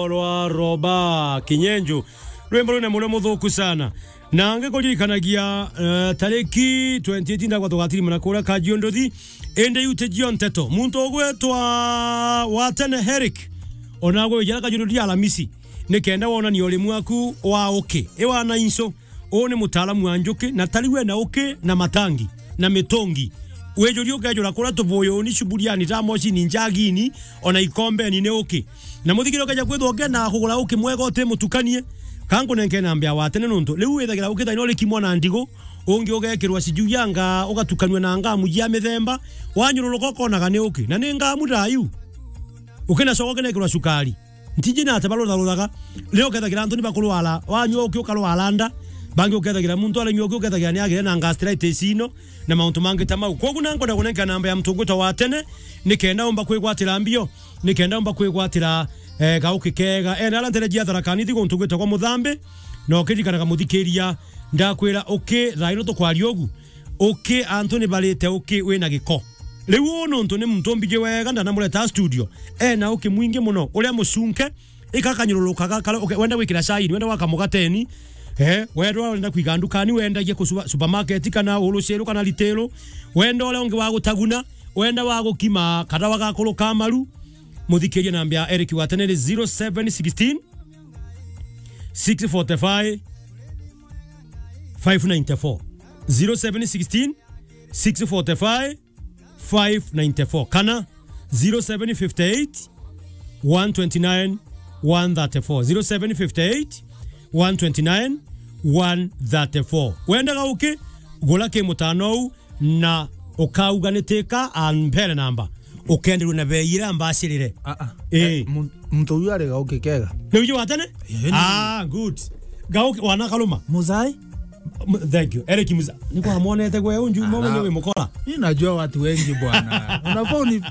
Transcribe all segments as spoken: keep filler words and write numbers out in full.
rwa Roba Kinyenjo. Rwimbo rwina murio muthuku sana. Na ngikuririkanagia, eh, tariki twenty eight ndagwa tugatirimana kuria Kajiunduthi. Indi iu tijio nteto. Muntu ugwitwa wa tene Eric, ona gwija Kajiunduthi Alamisi, nikenda wonania urimu waku wa uki. Iwa na inso. Uu ni mutaalamu wa njuki, na tari we na uki na matangi na mitungi. Wijuria ukejura kuria tubuyuni, cuburiani, tamocini, njagini, ona ikombeni ni uki. Na muthikiri ukeja kwithwa ukenda kugura uki mwega uti mutukanie, ka nkunenke namba ya wa tene nuntu riu withagira uki thaino rikimwa na ndigu, ungi ugekirwa sijui ya nga, ugatukanua na ngamu jia mithemba, wanyururuka ukonaga ni uki. Na ni ngamu ta iu. Ukinacoka ukinekirwa cukari. Ntiji na ate barutharuthaga. Riu ukethagira antu ni bakurwara, wanyua uki ukarwara nda, bangi ukethagira muntu aranyua uki ukethagira ni agire na gastritis ino na mauntu mangi ta mau. Kwogu na nkwenda kunenka namba ya muntu ugwitwa wa tene, nikenda umba kwigwatira mbio, nikenda umba kwigwatira, eh, gauki kega. Ena ara ntere jia Tharaka Nithi guntu gwitagwa Muthambi, na ukiririkanaga muthikiria, ndakwira uki thaino tukwaria ugu. Uki, antu ni barite uki wina giko. Riu uu nuntu ni muntu mbiji wega, ndanamureta studio. Ena uki mwingi muno, uria mucunke, ika kanyoruruka gakara, uke-, wenda gwikira cai, wenda gwaka mugateni, eh, wenda, wenda kwiga ndukani, wendagia ku supa-, supermarket kana uluciru kana ritiru, wenda uria ungi wa gutaguna, wenda wa gukima kadawa gakuru ka maru, muthikirie namba ya Eric wa tene ni zero seven sixteen, six forty-five, five ninety-four. Zero seven sixteen, six forty-five, five ninety-four. Kana zero seven fifty-eight, one twenty-nine, one thirty-four. Zero seven fifty-eight, one twenty-nine, one thirty-four. Wendaga uki, gura ki mutano uu, na ukauga ni tika ampere namba. Ukenderua na bei iria mbacirire. Ah, ah. Eh. Eh, mu-, muntu uyu ari gauki kega. Ni uyu wa tene? Eh, ni. Ah, good. Gauki wana karuma. Muzai? M-, thank you. Eric Muza-, ni kwa mwonete gwe unju mo mwenye wi mukora. Mimi najua watu wengi bwana. Unafaa uni-,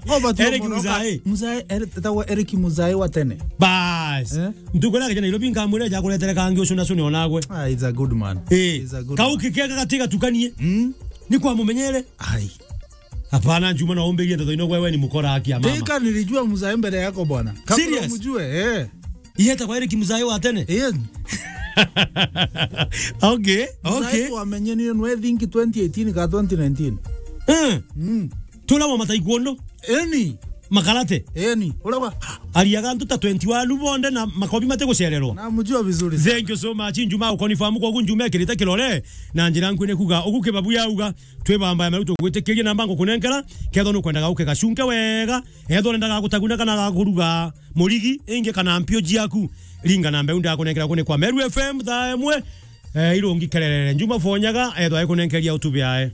ngoba tu Eric mwana Muzai. Muzai, Eric, tatawa Eric Muzai wa tene. Bas. Eh? Ntukura kijana Nairobi nkamwira ja kuretere kangi ucu na cuni onagwe. Ah, he's a good man. Eh. He's a good man. Gauki kega gatiga tukanie. Mm. Ni kwa mumenyere. Ai. Hapana, Juma, na umbirie ndeto ino, wewe ni mukora, haki ya mama. Teka nilijua mzae mbele yako bwana. Kabla serious? Umjue, eh. Yeta kwa Eric mzae wa tene? Yes. Okay, mzae okay. Wamenyenire nwe think twenty eighteen ka twenty nineteen. Eh. Mm. Tula wa mataikuondo. Eni. Makarate. Eni. Ula wa. Ariaga antu ta twenty-one bonde na makobi mate gucererwa. Namjua vizuri sana. Thank you so much. Njuma ukonifirm kwa gu Njuma ekirite kirore. Na njira nkwi ni kuga, ugu kibabu yauga, twibamba ya meru tugwitikirie namba ngukunenkera, kethwa nukwendaga ukegacunke wega, ethwa urendaga gutaguna kana gakuruga murigi, ingi kana mpio jiaku, ringa namba iu ndakunenkera kuni kwa Meru F M thaa imwe, eh, irungi kererere. Njuma fonyaga, ethwa ikunenkeria utubi ae.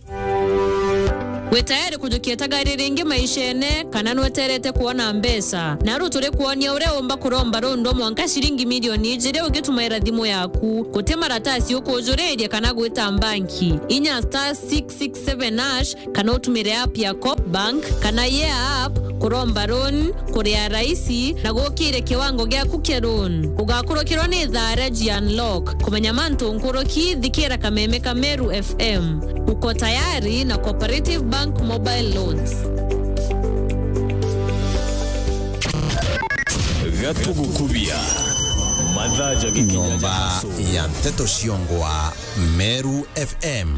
Wi tayari kujukia tagari ringi maishene, kana nweterete kwona mbeca? Naru turi kwonia uria umba kuromba rundo mwanka ciringi milioni ijiri ugitumaira thimu yaku. Guti maratasi ukujuriria kana gwita mbanki. Inya star six six seven hash kana utumire app ya Coop Bank kana Yeah app kuromba loan, kuria raisi na gukire kiwango giaku kia loan. Ugakurukirwa ni thaa ria G Unlock. Kumenya mantu nkuruki, thikira kameme ka Meru F M. Uko tayari na Cooperative Bank Mobile Loans. Gatugukubia. Mathaa ja gikinya ja Nyomba ya nteto ciongwa Meru F M.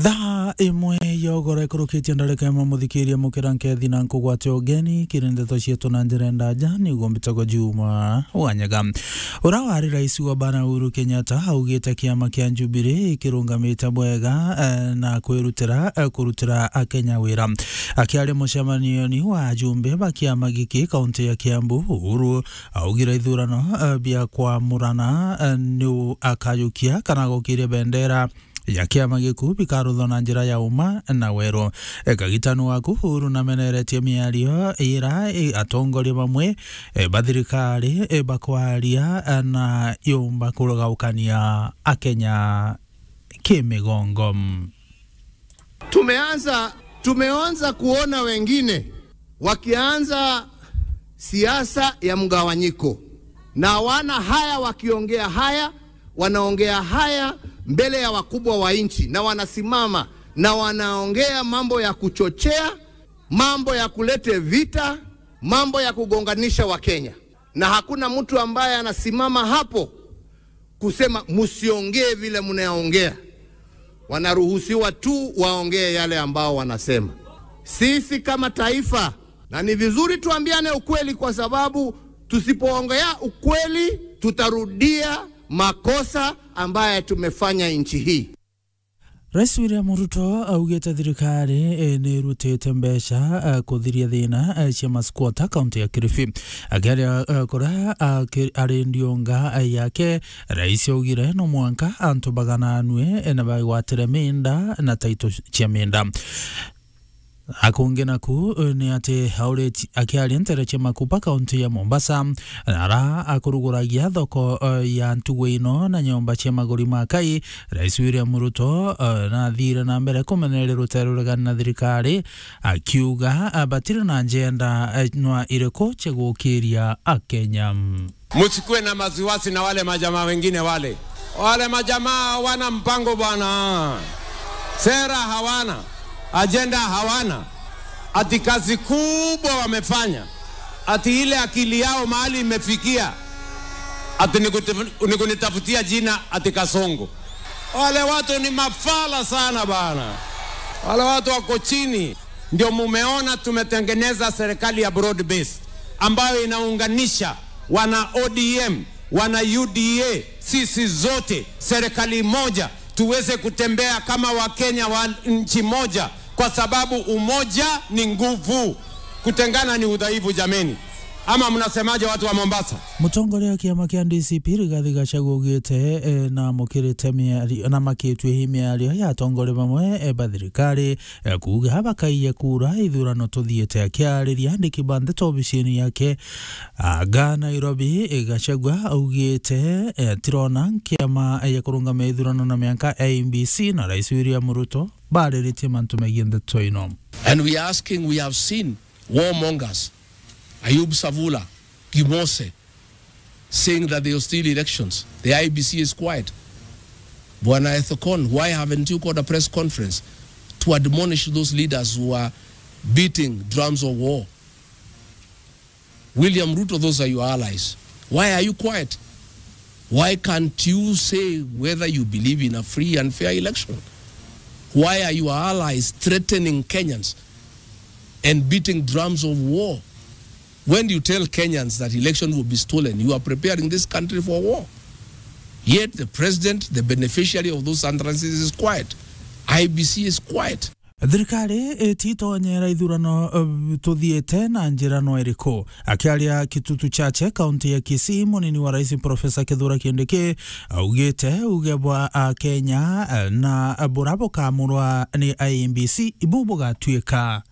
Thaa imwe ya ugoro ikurukitie ndarika imwe, muthikiria mukira nkethi na nkugwate ugeni kiri ndeto cietu na njira ndaja, niguo mbitagwa Juma Wanyaga. Ura wari rais wa bana Uhuru Kenyatta augite kiama kia Jubilee kirungamite bwega, eh, na kwirutira, eh, kurutira Akenya wira. Akiaria mucemanioni wa ajumbe ba kiama giki kaunti ya Kiambu, Uhuru augire ithurano, eh, bia kwamurana, eh, ni u-, akayukia kana gukiria bendera ya kiama giku bikaruthwa na njira ya uma na weru. E, kagitanu waku Uhuru nameneretie miario ira, e, atongoria bamwe, e, ba thirikari, e, bakwaria, e, na yumba kurugaukania Akenya kimigongo. Tumeanza, tumeanza kuona wengine wakianza siasa ya mgawanyiko, na wana haya wakiongea haya, wanaongea haya mbele ya wakubwa wa nchi, na wanasimama na wanaongea mambo ya kuchochea Mambo ya kulete vita, mambo ya kugonganisha Wakenya. Na hakuna mtu ambaye anasimama hapo kusema msiongee vile mnaongea. Wanaruhusiwa tu waongee yale ambao wanasema. Sisi kama taifa, na ni vizuri tuambiane ukweli, kwa sababu tusipoongea ukweli, tutarudia makosa ambaye tumefanya nchi hii. Rais William Ruto augite thirikari, eh, ni irutite mbeca, eh, kuthiria thina, eh, cia masquatter kaunti ya Kilifi. Akiaria, eh, kuria, eh, ki-, ari ndiunga, eh, yake, rais augire no mwanka antu bagananue, eh, na bagwatire minda na taito cia minda. Akungi naku, eh, ni ati auriti-, akiaria ntere cia Makupa, kaunti ya Mombasa, ara akuruguragia thoko, eh, ya ntugu ino na nyomba cia maguri ma kai, Rais William Ruto, eh, nathire na mbere kumeneria rutere ruregani na thirikari, akiuga, eh, batiri na njenda, eh, nwa iriku cia gukiria Akenya. Msikuwe na wasiwasi na wale majamaa wengine wale. Wale majamaa hawana mpango bwana. Sera hawana, ajenda hawana. Ati kazi kubwa wamefanya. Ati ile akili yao mahali imefikia. Ati ni kuti-, ni kunitafutia jina ati Kasongo. Wale watu ni mafala sana bana. Wale watu wako chini. Ndio mumeona tumetengeneza serikali ya broad base ambayo inaunganisha wana O D M, wana U D A, sisi zote serikali moja, tuweze kutembea kama Wakenya wa nchi moja, kwa sababu umoja ni nguvu, kutengana ni udhaifu, jameni. Ama mnasemaje, watu wa Mombasa? Mutongoria wa kiama kia D C P Rigathi Gachagua augite, eh, na mukirite miario, na makitue hi miario ya atongoria bamwe, eh, ba thirikari, eh, kuuga bakaiya kura ithurano tuthiite. Akiariria andiki ba ndeto obisini yake, aga Nairobi, eh, Gachagua augite, eh, tirona kiama, eh, ya kurungamia ithurano na mianka, I E B C, na Rais William Ruto bariritie mantu megie ndeto ino. And we are asking, we have seen warmongers, Ayub Savula, Gimose, saying that they will steal elections. The I E B C is quiet. Bwana Ethekon, why haven't you called a press conference to admonish those leaders who are beating drums of war? William Ruto, those are your allies. Why are you quiet? Why can't you say whether you believe in a free and fair election? Why are your allies threatening Kenyans and beating drums of war? When you tell Kenyans that election will be stolen, you are preparing this country for war. Yet the president, the beneficiary of those utterances, is quiet. I E B C is quiet. Thirikari ititonyera ithurano, eh, tuthiite na njira no iriku? Akiaria Kitutu Chache, kaunti ya Kisii, munini wa rais Profesa Kithure Kindiki augite uge bwa Akenya, eh, na bura bukamurwa ni I E B C ibu bugatuika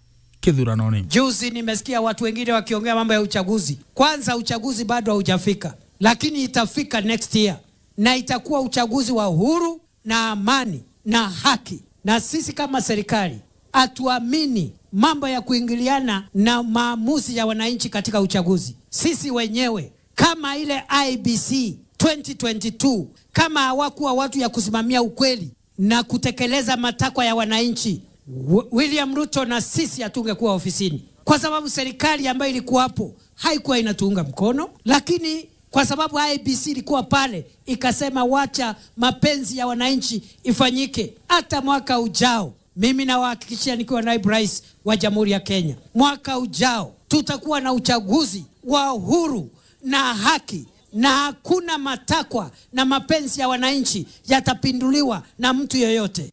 kithuranoni. Juzi nimesikia watu wengine wakiongea mambo ya uchaguzi. Kwanza, uchaguzi bado haujafika, lakini itafika next year, na itakuwa uchaguzi wa uhuru na amani na haki. Na sisi kama serikali, hatuamini mambo ya kuingiliana na maamuzi ya wananchi katika uchaguzi. Sisi wenyewe, kama ile I E B C twenty twenty-two, kama hawakuwa watu ya kusimamia ukweli na kutekeleza matakwa ya wananchi, Wi-, William Ruto na sisi hatungekuwa ofisini, kwa sababu serikali ambayo ilikuwa hapo haikuwa inatuunga mkono. Lakini kwa sababu I E B C ilikuwa pale, ikasema, "Wacha mapenzi ya wananchi ifanyike." Hata mwaka ujao, mimi nawahakikishia, nikiwa naibu rais wa Jamhuri ya Kenya, mwaka ujao tutakuwa na uchaguzi wa uhuru na haki, na hakuna matakwa na mapenzi ya wananchi yatapinduliwa na mtu yoyote.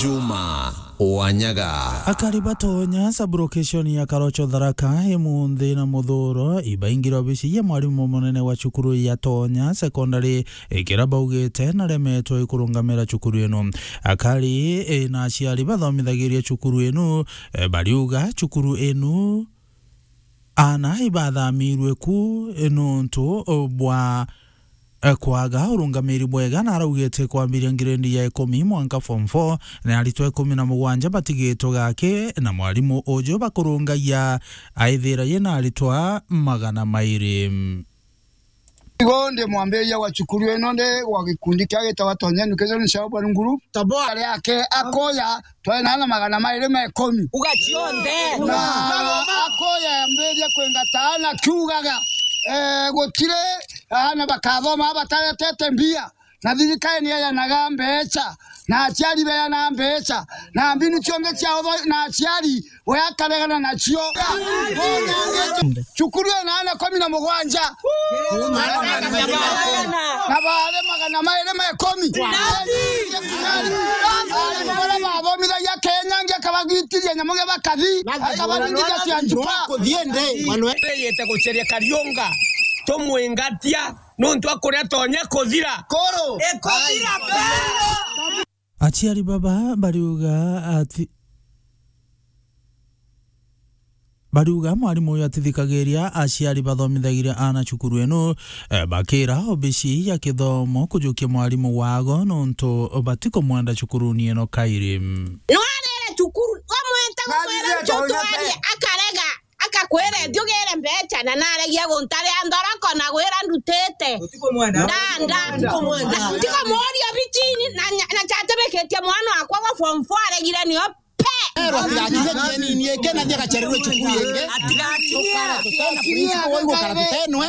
Juma Wanyaga. Akari ba Tonya sub-location ya Karocho Tharaka imunthi na muthuro ibaingire obici ya mwarimu munene wa cukuru ya Tonya Secondary, ikira baugite naremetwe ikurungamira cukuru inu. Akari, e, na aciari bathomithagiria cukuru inu, e, bariuga cukuru inu aana ibathamirwe ku, e, nuntu bwa, e, kwaga urungamiri bwega, na araugite kwambiria ngirendi ya ikumi mwanka form four, na aritwa ikumi na mugwanja batigitwe gaki, na mwarimu uju bakurungagia aithira yina aritwa magana mairi. Igo ndi mwambiria wa cukuru ino, ndi wa gikundi kia gitagwa Tonya Education Shelburne Group. Toboa. Ari ake akoya, twari na ana magana mairi ma ikumi. Uga cionthe. Na akoya yambirie kwingata ana kiugaga, eh, gutiri ana bakathoma bataretete mbia. Na thirikari ni yayanaga mbeca, na aciari beyanaga mbeca, na mbinu cionthe cia utho-, na aciari we akaregana nacio. Cukuru ina ana ikumi na mugwanja. Na baari magana mairi ma ikumi. Ari baria bathomithagia Kenya, ngi akabagitiria nyamu gia bakathi, akabaringiria cia njuka. Kuthiende, Manuel. Yete guceria Kariunga, tumwingatia, nontu akuria tonya kuthira. Koro. Ikuthira bero. Aciari baba bariuga ati, bariuga mwarimu uyu atithikagiria aciari bathomithagiria ana cukuru ino, eh, bakira obici ya kithomo kujukia mwarimu wago nontu batikumwenda cukuruni ino kairi. Nwarere cukuru, wamweta kumwira ntutuarie, akarega. Akakwira, "Thiugire mbeca," na naregia guntaria nthoroko na gwira ndutite. Utikumwenda? Nda, nda. Utikumwenda? Ntikumuuria obichini na nya-, na chatibikitie mwana wakwa gwa form four aregire nio pe. Erwa atigakinya kienini iki na thiagacererwe cukuru ingi. Atigakinya. Tukara tutena principal waigukara tutenwe.